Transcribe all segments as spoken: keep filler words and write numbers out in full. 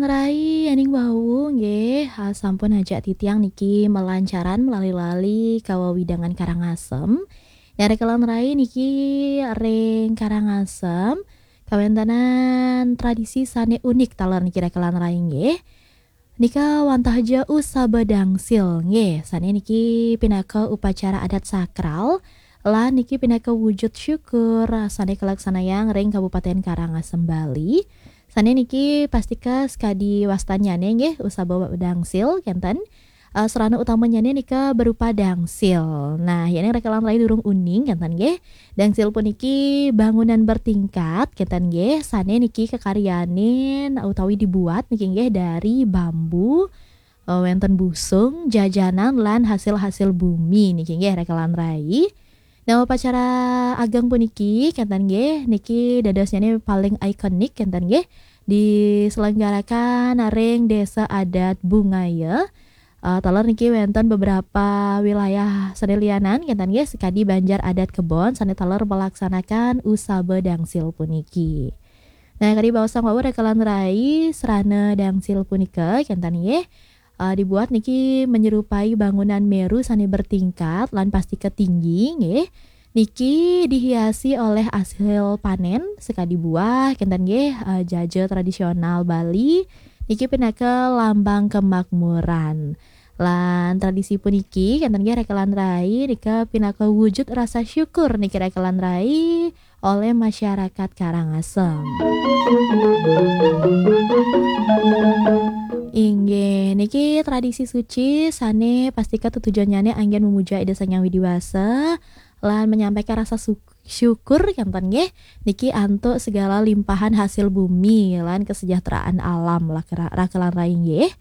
Rai, aning wau nggih, ah, sampun ajak titiang niki melancaran melali-lali kawewidangan Karangasem. Nah, rekelan rai niki ring Karangasem kawentenan tradisi sane unik taler niki rekelan rai nggih. Nika wantah ja usaba dangsil nggih, sane niki pinaka upacara adat sakral lan niki pinaka wujud syukur sane kalaksanayang ring Kabupaten Karangasem, Bali. Sane niki pastika sakadi wastannyane nggih, usaba dangsil kenten. Eh, sarana utamanyane nika berupa dangsil. Nah, yening rekelan rai durung uning kenten nggih. Dangsil puniki bangunan bertingkat kenten nggih, sane niki kakaryanin utawi dibuat niki nggih dari bambu, eh, wenten busung, jajanan lan hasil-hasil bumi niki nggih rekelan rai. Nah, upacara ageng puniki kenten nggih, niki dadosnyane paling ikonik kenten nggih, diselenggarakan ring Desa Adat Bungaya. Eh, taler niki wenten beberapa wilayah sane lianan kenten nggih, sakadi Banjar Adat Kebon sane taler melaksanakan usaba dangsil puniki. Nah, kadi baosang wau rekelan rai, sarana dangsil punika kenten nggih, eh, dibuat niki menyerupai bangunan Meru sane bertingkat lan pastika tinggi nggih. Niki dihiasi oleh hasil panen sakadi buah kenten nggih, eh, jaja tradisional Bali. Niki pinaka lambang kemakmuran. Lan tradisi puniki kenten nggih rekelan rai nika pinaka wujud rasa syukur niki rekelan rai oleh masyarakat Karangasem. Inggih, niki tradisi suci sane pastika tetujonnyane anggen memuja Ida Sang Hyang Widi Wasa lan menyampaikan rasa su-, syukur kenten nggih, niki antuk segala limpahan hasil bumi lan kesejahteraan alam lah kera-, rekelan rai nggih.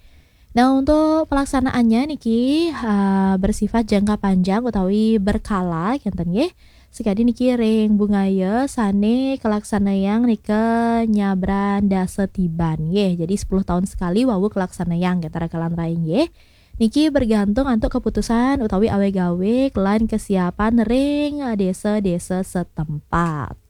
Nah, untuk pelaksanaannya niki, ah, bersifat jangka panjang utawi berkala kenten nggih. Sakadi niki ring Bungaya sane kalaksanayang nika nyabran dasa tiban nggih. Jadi sepuluh tahun sekali wau kalaksanayang kenten rekelan rai nggih. Niki bergantung antuk keputusan utawi awig-awig lan kesiapan ring, eh, desa-desa setempat.